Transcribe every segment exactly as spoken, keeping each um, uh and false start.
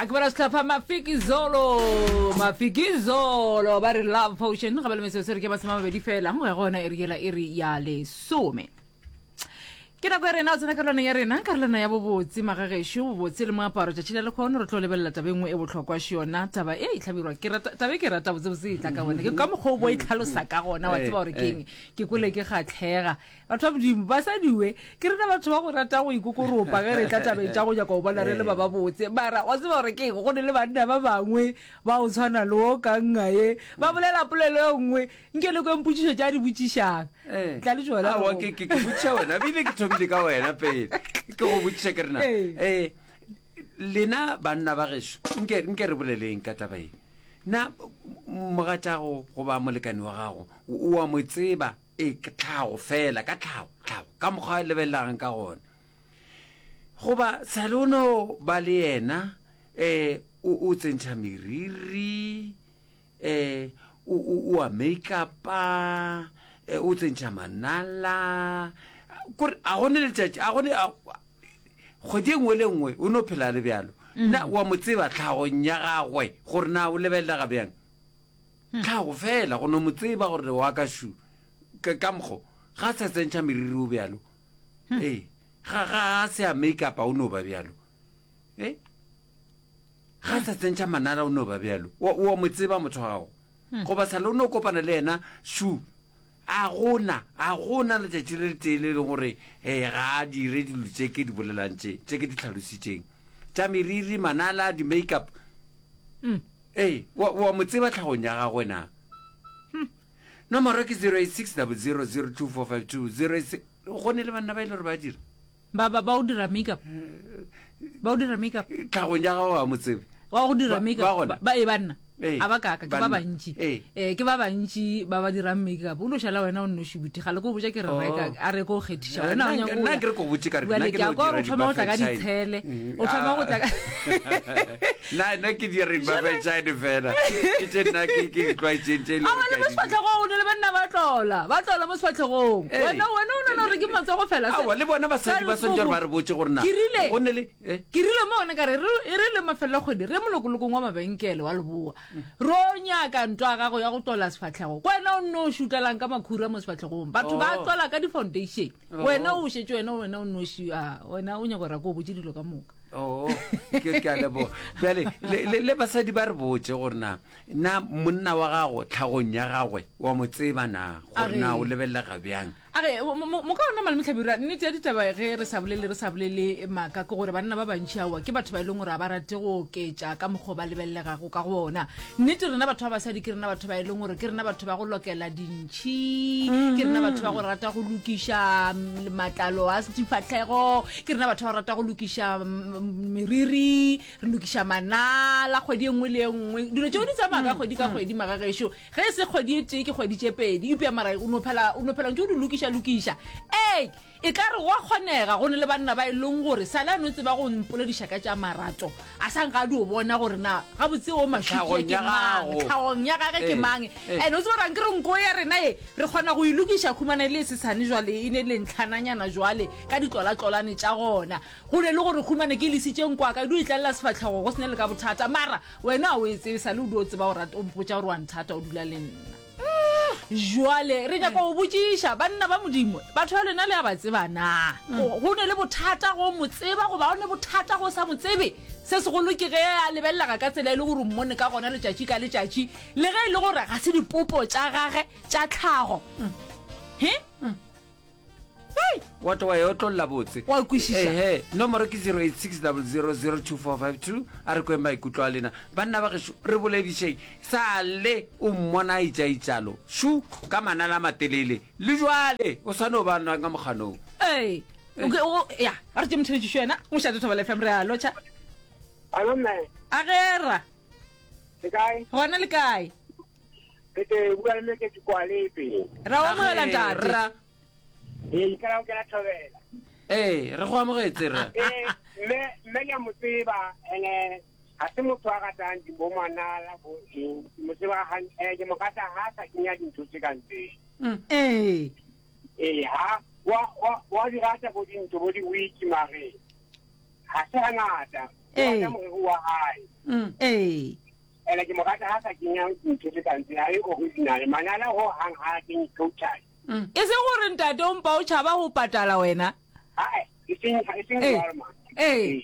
A ke bona sehlopha Mafikizolo, Mafikizolo ba re Love Potion ga ba le metsotso re ke masome a mabedi fela go ya gona e re yela e re ya lesome. Ke nako ya rena o tsena karolwana ya rena, karolwana ya bobotse magagešo, bobotse le moaparo. Tšatši la lekgono re tlo lebelela taba e nngwe e bohlokwa še yona taba e e hlabirwa ke rata taba e ke rata botsebotse e tla ka gona ke ka mokgwa o bo e tlhalosa ka gona wa tseba gore keng ke kwele ke kgatlhega. Batho ba Modimo, basadiwe, ke rena batho ba go rata go ikokoropa ge re tla tabeng tša go nyaka go bona re le ba babotse. Mara wa tseba gore keng, go ne le banna ba bangwe ba go tshwana le wo ka nnga ye, ba bolela polelo e nngwe, nke le kweng potšišo tša di botšišang. Tla le tšona. Aowa, ke, ke, ke botšiša wena, bile ke thomile ka wena pele. Ke go botšiša ke rena. Eh, lena banna ba gešo, nke, nke re boleleng ka taba ye. Na mogatšago goba molekane wa gago, o a mo tseba? E, ke tlhago fela, ka tlhago, tlhago, ka mokgwa a lebelelang ka gona. Goba sale o no ba le yena, eh, o, o tsentšha meriri, eh, o, o, o a make-upa, eh, o tsentšha manala, kore a gone letšatši, a gone, a, kgwedi e nngwe le nngwe o no phela le bjalo. Na wa mo tseba tlhagong ya gagwe gore na o lebelelega bjang? Tlhago fela, go no mo tseba gore wa ka šu, ka, ka mokgo, ga sa tsentšha meriri o bjalo. Ee, ga, ga a se a make-upa o no ba bjalo. Ee, ga sa tsentšha manala o no ba bjalo. Wa, wa mo tseba motho wa gago. Goba sale o no kopana le yena šu, a gona, a gona letšatši le letee le leng gore eh, ga a dire dilo tše ke di bolelang tše, tše ke di tlhalositšeng. Tša meriri, manala, di-make-up. Ee, wa, wa mo tseba tlhagong ya gagwe na? Nomoro ke zero eight six double zero zero two four five two zero eight six. Go ne le banna ba e le gore ba dira. Ba, ba, ba o dira make-up. Ba o dira make-up. Tlhagong ya gagwe wa mo tsebe. Wa go dira Ba- make-up. ba gona? Ba, ba, ee, banna. Ee, A ba kaka, ke ba banna. bantši. Ee. Eh, ke ba bantši ba ba dirang make-up. O no šala wena o nnoši buti. Ga le ko botša ke re Oh. reka, a re ko kgethiša. Eh, Wena o nna- nyaka go nna ya. ke re ko botše ka re Bjale nna ke ke a no kwa gore dira o thoma go tla ka di-buffet ditshele. shine. O thoma go tla ka Nna nna ke dira di-buffet shine fela. Ke tše nna ke ke di tlwaetšeng tše e leng Aowa, gore le ke mo a di dira. sefahlego o ne le banna ba tlola. Ba tlola mo sefahlegong. Ee. Wena, wena o nagana gore ke matsogo fela. Se- Aowa, le bona basadi ba swanetše gore ba re botše gore na Ke rile- go ne le eh? Ke rile mo gona ka re, re e re le mafelelo a kgwedi re molokolokong wa mabenkele wa Leboa. Ro nyaka ntwa ya gago ya go tlola sefahlego. Ke wena o nno šutlelang ka makhura mo sefahlegong. Batho ba Oh. tlola ka di-foundation. Oh. Wena o šetše wena wena o nnoši, a wena o nyaka gore a ko o botše dilo ka moka. Oh, ke ke a leboga. Bjale le, le, le basadi ba re botše gore na na monna wa gago tlhagong ya gagwe wa mo tseba na gore na o lebelelega bjang. A re, mo, mo, mo ka ona Malome Hlabirwa, nnete ya ditaba ge re sa bolele, re sa bolele maaka, ke gore banna ba bantši aowa ke batho ba e leng gore ga ba rate go oketša ka mokgwa o ba lebelelegago ka gona. Nnete rena batho ba basadi ke rena batho ba e leng gore ke rena batho ba go lokela dintšhi, ke rena batho ba go rata go lokiša matlalo a difahlego, ke rena batho ba go rata go lokiša meriri, re lokiša manala kgwedi e nngwe le e nngwe. Dilo tšeo di tsamaya ka kgwedi ka kgwedi magagešo. Ge e se kgwedi e tee ke kgwedi tše pedi, eupša mara o no phela, o no phela ntše o di lokiša lokiša. Ee, e ka re gwa kgonega go ne le banna ba e leng gore sale a no tseba go mpolediša ka tša marato, a sa nka a dio bona gore na gabotse o mašutie ke mang, tlhagong ya gage ke mang. And o tsebe gore ankere nko ya rena ye re kgona go e lokiša, khumana e le e sesane jwale, e ne le ntlhananyana jwale ka ditlolatlolane tša gona. Go ne le gore khumane ke lesitše nko ya ka e dio e tlalela sefahlego go se ne le ka bothata, mara wena ga o e tsebe, sale o dio tseba o rata, o mpotša gore wa nthata o dula le nna. Jwale re nyaka go botšiša banna ba Modimo, batho ba lena le a ba tseba na? Go ne le bothata go mo tseba goba go ne bothata go sa mo tsebe? Se segolo ke ge a lebelelega ka tsela e le gore o mmone ka gona letšatši ka letšatši, le ge e le gore ga se dipopo tša gage tša tlhago. He? Hei! Wa tlo wa e otlolla botse. Wa kwešiša? Ehe, nomoro ke zero eight six double zero zero two four five two. A re kweng maikutlo a lena. Banna ba gešo, re boledišeng. Sa le o mmona a itšaitšalo, šu, ka manala a matelele. Le jwale o sa no ba nwa ka mokganong. Ee. O ke, o, ya, a re tše motheletšišo yena. Mošate Thobela F M, re a lotšha. Hallo mme. A ge ra. Le kae? Gona le kae? Ke te bua le mme ke Kwalepe. Ra o amogela ntate. Ra. Ee, ke ra o kena Thobela. Ee, re go amogetse rra. Ee, mme mme ke a mo tseba ene ga se motho a ratang di bo manala bo eng. Ke mo tseba hantle, eh, ke mo rata ha sa kenya dintho tse kang tse. Ee. Ee, ha wa wa wa di rata bo dintho bo di wiki mare. Ha se hangata. Ke Ee. rata moriri wa hae. Ee. Ene ke mo rata ha sa kenya ntho tse kang tse, ha e original. Manala ho hang ha a kenye total. E seng gore ntate o mpa o tšhaba go patala wena. Ae, e seng e seng Ee. jwalo man. Ee.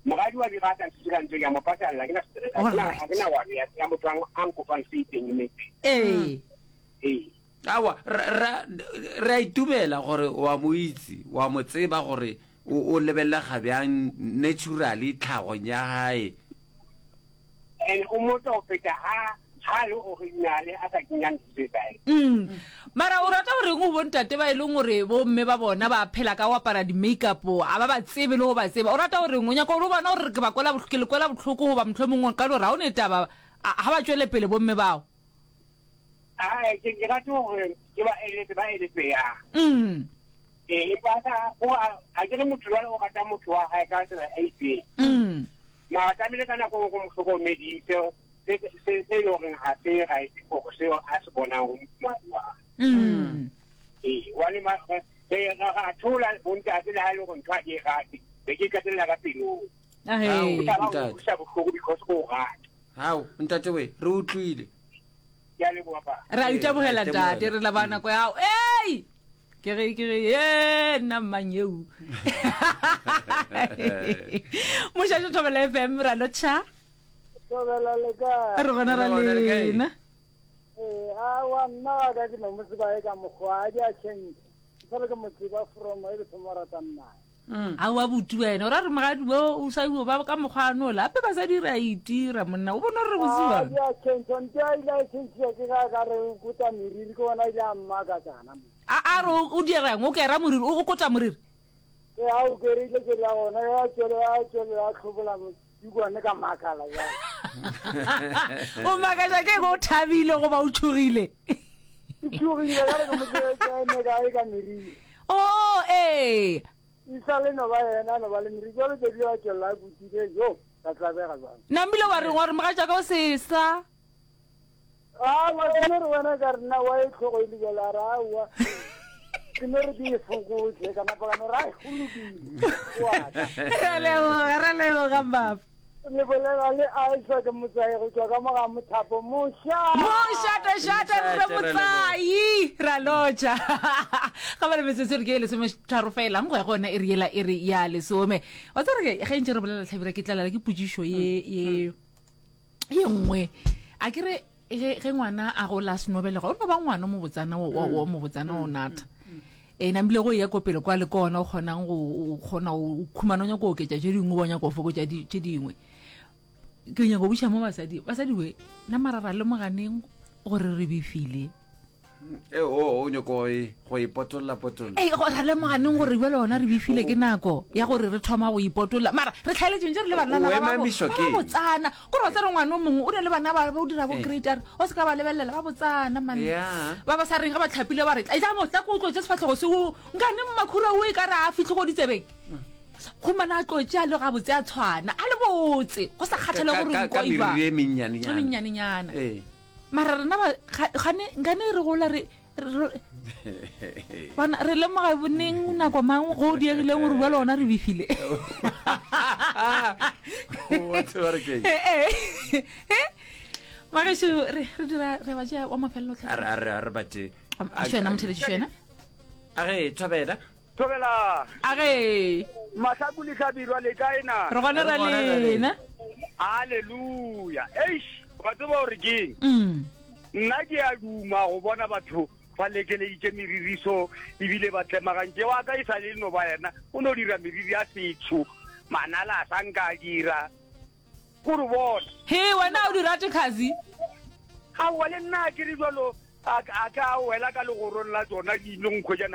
Moradi wa di rata ntho tse kang tseo, ke a mo patalla, ha ke na stress, ha ke na- ha ke na worry ya ya motho a a nkopang se itseng mme. Ee. Ee. Awa, ra re a itumela gore wa mo itse, wa mo tseba gore o o lebellega bjang naturally tlhagong ya hae. And o motho ho feta ha ha le original a sa kenya ntho tse kae. Mm. Mara o rata goreng go bontate ba e leng gore bomme ba bona ba phela ka go apara di-makeup a ba ba tsebe le go ba tseba o rata goreng o nyaka gore o bona gore ke ba kwela bohl- ke le kwela bohloko goba motlho mongwe ka gore ga o ne taba a- ga ba tšwele pele bomme bao Ae, ke ke rata hore ke ba eletse ba eletse ya. Mm. Ee, empa sa o a a ke re motho jwale o rata motho wa hae ka tsela e itseng. Mm. Mara tlamehile ka nako e nngwe o mo hlokomedise se se se e leng horeng ha se right hore seo a se bonang ho mofumahadi wa hae. Mm. Ee, hobane ma- re re ra thola bontate le ha e le hore ntho ha ke e rate, be ke qetella ka pelong. Ahee. Ao. O tla ba o Ntate. utlwisa bohloko because o rata. Hao, ntate we, re utlwile. Ke a leboha ba. re a Ee, itebogela re a itebohela. ntate re leba nako ya gago ei ke re ke re ye nna mmang eo mošašo thobela f m ra lotšha Thobela le kae? re gona ra Re gona le kae? lena Ee, aowa nna wa ka ke no mo tseba e ka mokgwa a di a change. Ke sale ke mo tseba from e ke thoma go ratana naye. a wa buti wena o ra re mogadi o o sa iwo ba ka mokgwa ano ola ape basadi re a itira monna o bone gore re A botsiwa di a change, nte a ile a change ke ga ka re o kuta meriri ke bona ile a mmakatsana mo. a a re o o dirang o kera moriri o o kota moriri Ke a o kerile ke la gona ya tswele ya tswele ya tlhobola mo dikwane ka makala jwale. o makatša ke eng o thabile goba o tšhogile Ke tshogile ka re ke mo tsebe ke eme kae ka meriri. o ee E sa le no ba yena no ba le meriri jwale tse di a tswella a kutile jo ka tlabega jwale. nambile wa reng wa re mogatšaka o sesa Aowa ke no re wena ka re nna wa e tlhogo e le jwalo a re aowa ke no re ke e fokotse ka napa ka no re ai go lokile o a ka. re a leboga re a leboga mmapa le bolela le Isaac Motsai go tswa ka mo ga mothapo moša mošatašata re Mošate, re motsai ra lotša ga ba le metsotso re ke e lesometharo felang go ya go yona e re yela e re ya lesome wa tsere ke ge ntse re bolela tlhabira ke tlalala ke potsišo ye ye ye nngwe a ke re ge ge ngwana a gola a senobelega o no ba ngwana o mobotsana o- o o mobotsana o natha e namile go ya ko pele kwa le ke ona o kgonang go o kgona o khumana o nyaka go oketša tše dingwe ba o nyaka go fokotša di- tše dingwe ke nyaka go buša mo basadi basadi we nna mara ra lemoganeng gore re befile E o o nyoko e go ipotolla potolla. ee go ra lemoganeng gore jale ona re befile ke nako ya gore re thoma go ipotolla mara re tlhaeletseng tse re le banana O ba ba bo- emamiswa ba ke ba eng? botsana kore wa tsere ngwana o mongwe o ne le bana ba ba o dira bo Eh. grade a re o se ka ba lebelela ba botsana man Yeah. ba ba sa reng ga ba tlhapile ba re tla mo tla ko o tlotse sefatlhego se o nkane makhura o e ka re a fitlhe go ditsebeng gomana a tlotse a le gabotse a tshwana a le botse go sa kgathale Ka- gore ka- nko ka e jwang. meriri e E mennyanenyana. mennyanenyana Ee. mara rena ba ga- gane nkane re gola re re- bana re lemoga boneng nako mang go o diegileng gore bua le ona re befile Wa tseba re keng? magešo re re dira re ba tšea wa mafelelo A re a re a re ba tše. a šwena motheletši šwena A ge thobela. Thobela a ge mahlaku le hlabirwa le kae na re gona ra Re gona ra lena halleluja eish wa tseba gore keng Mm. nna ke a duma go bona batho ba lekeleditše meririso ebile ba tlemagantše wa ka e sa le no ba yena o no dira meriri ya setsho manala a sa nka a dira kore bona he wena o di rate kasi aowa le nna a ke re jalo a a ka wela ka legorong la tsona ke ile nkgwetsa